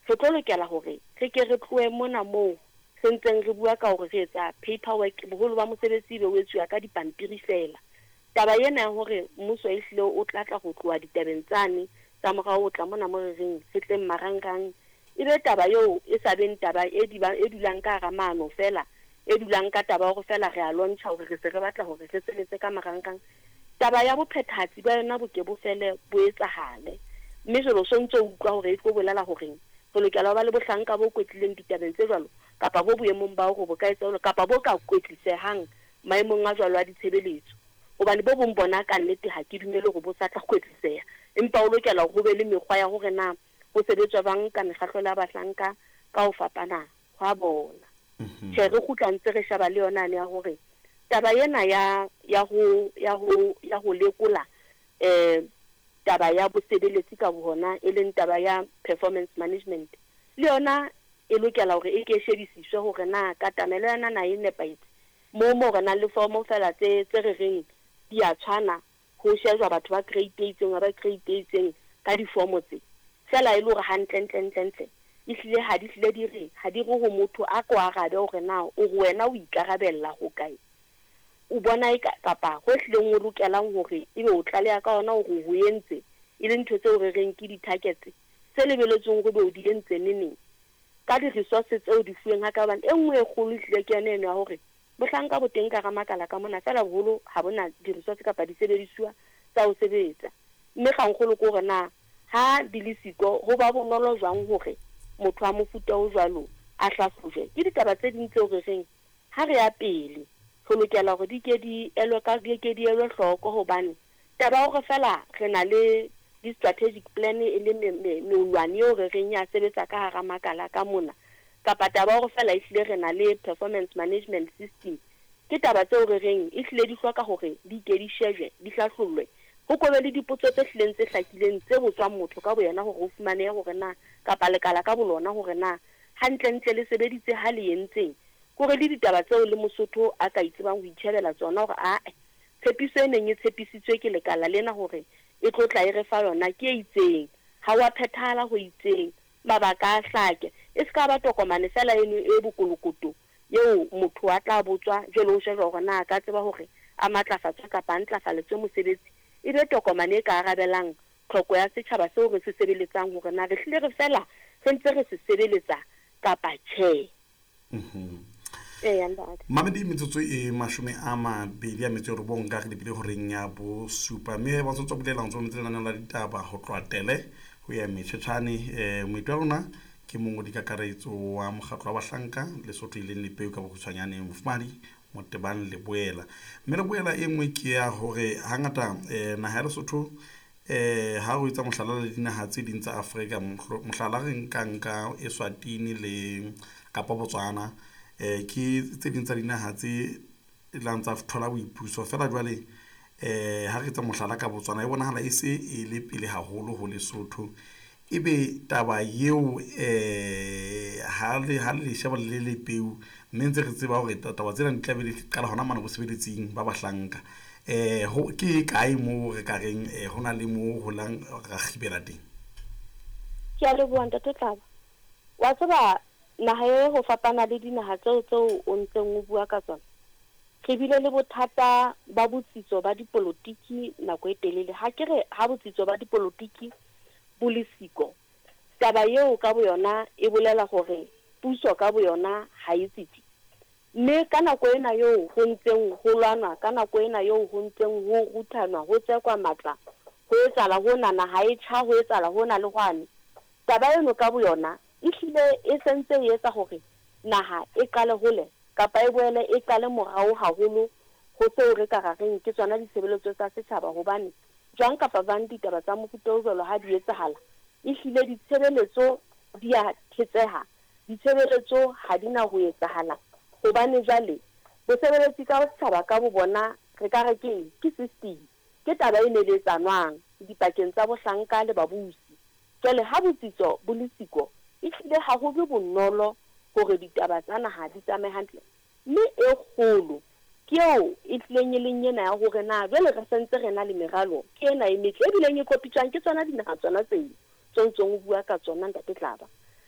Re tlo lokela hore re ke re tlohe mona moo re ntseng re bua ka hore re etsa paper work, boholo ba mosebetsi ebe o etsuwa ka dipampiri feela. Taba ena ya hore mmuso ehlile o tla tla ho tloha ditabeng tsane tsa morao ho tla mona mo re reng re tleng marangrang, e be taba eo e sa beng taba e e dulang ka hara maano feela, e dulang ka taba ya hore feela re a launch-a hore re se re batla hore re sebetse ka marangrang. Taba ya bophethahatsi ba yona bo ke bo fele bo etsahale. Mme jwale o so ntso utlwa hore e tlo bolela horeng. Re lokela ho ba le bohlanka bo kwetlileng ditabeng tse jwalo, kapa bo boemong ba hore bo ka etsa jwalo, kapa bo ka kwetlisehang maemong a jwalo a ditshebeletso. Hobane bo bong bona ka nnete ha ke dumele hore bo sa tla kwetliseha. Empa ho lokela hore ho be le mekgwa ya hore na ho sebetswa jwang ka mekgahlelo ya bahlanka ka ho fapana hwa bona. Tjhe, re kgutla ntse re sheba le yona yane ya hore taba ena ya ya ho ya ho ya ho lekola taba ya bosebeletsi ka bohona, e leng taba ya performance management, le yona e lokela hore e ke e shebisiswe hore na katamelo ya yona na e nepahetse. Moo moo re nang le formo feela tse tse re reng di a tshwana, ho shejwa batho ba grade e itseng ba grade e itseng ka difomo tse, feela e le hore hantle ntle ntle ntle ehlile ha di hlile di re ha di re ho motho a ko arabe hore na o re wena o ikarabella ho kae, o bona eka kapa ho hlileng o lokelang hore ebe o tlaleha ka ona hore o ho entse, e le ntho tseo re reng ke di-targets tse lebeletsweng hore ebe o di entse neneng ka di-resource tseo di fuweng ha ka. Hobane e nngwe e kgolo ehlile ke yona eno ya hore bohlanka bo teng ka hara makala ka mona, feela boholo ha bo na di-resource kapa disebedisuwa tsa ho sebetsa. Mme kgangkgolo ke hore na ha di le siko ho ba bonolo jwang hore motho wa mofuta o jwalo a hlahlojwe. Ke ditaba tse ding tseo re reng ha re ya pele re lokela hore di ke di elwe ka di ke di elwe hloko, hobane taba ya hore feela re na le di-strategic plan e le meolwane eo re reng ya sebetsa ka hara makala ka mona, kapa taba ya hore feela ehlile re na le performance management system, ke taba tseo re reng ehlile di hloka hore di ke di shejwe, di hlahlollwe, ho ko be le dipotso tse hlileng tse hlakileng tse botswang motho ka boyena hore ho fumanehe hore na kapa lekala ka bolona hore na hantlentle le sebeditse ha le entseng. Kore le ditaba tseo le Mosotho a ka itsebang ho itjhebela tsona hore ae, tshepiso e neng e tshepisitswe ke lekala lena hore e tlo tla e re fa yona ke e itseng, ha wa phethahala ho itseng, mabaka a hlake. E se ka ba tokomane feela eno e bokolokoto eo motho a tla botswa jwale ho shejwa hore na a ka tseba hore a matlafatswe kapa a ntlafaletswe mosebetsi, e be tokomane e ka arabelang tlhoko ya setjhaba seo re se sebeletsang hore na re hlile re fela re ntse re se sebeletsa kapa tjhe. Eya ntate. Mamedi, metsotso e 29 ka re lebile horeng ya bosupa, mme ba tswa bulela ntse metse lenaneo la ditaba ho tloha Tele ho ya Metshetshane. Moeti wa rona ke mongodi kakaretso wa mokgatlo wa bahlanka Lesotho e leng Lepeu ka bokgutshwanyane, Mofumahadi Motebang Leboela. Mme Leboela, e nngwe ke ya hore hangata naha ya Lesotho, ha o etsa mohlala le dinaha tse ding tsa Afrika, mohlala re nkang ka Eswatini le kapa Botswana, ke tse ding tsa dinaha tse lang tsa thola boipuso. Feela jwale ha re etsa mohlala ka Botswana, e bonahala e se e le pele haholo ho Lesotho. Ebe taba eo ha le sheba le Lepeu, mme ntse re tseba hore taba tsena di tla be di qala hona mane bosebeletsing ba bahlanka, ho ke kae moo re ka reng ho na le moo ho lang ra kgibela teng? Ke a leboha ntate Tlaba. Wa tseba naha e ho fapana le dinaha tseo tseo o ntseng o bua ka tsona, re bile le bothata ba botsitso ba dipolotiki nako e telele. Ha ke re ha botsitso ba dipolotiki bo le siko, taba eo ka boyona e bolela hore puso ka boyona ha e tsitsi. Mme ka nako ena eo ho ntseng ho lwanwa, ka nako ena eo ho ntseng ho ruthanwa, ho tsekwa matla, ho etsahala hona, naha e tjha, ho etsahala hona le hwane, taba eno ka boyona ehlile e sentse e etsa hore naha e qale hole kapa e boele e qale morao haholo ho seo re ka ra reng ke tsona ditshebeletso tsa setjhaba. Hobane jwang kapa jwang ditaba tsa mofuta o jwalo ha di etsahala, ehlile ditshebeletso di a thetseha, ditshebeletso ha di na ho etsahala. Hobane jwale bosebeletsi ka setjhaba ka bo bona re ka re keng, ke system, ke taba e neletsanwang dipakeng tsa bohlanka le babusi. Jwale ha botsitso bo le siko, ehlile ha ho be bonolo hore ditaba tsa naha di tsamaye hantle. Mme e kgolo ke eo e hlileng e leng ena ya hore na jwale re sentse re na le meralo ke ena e metle e bileng e kopitswang ke tsona dinaha tsona tseo tse ntseng o bua ka tsona ntate Tlaba.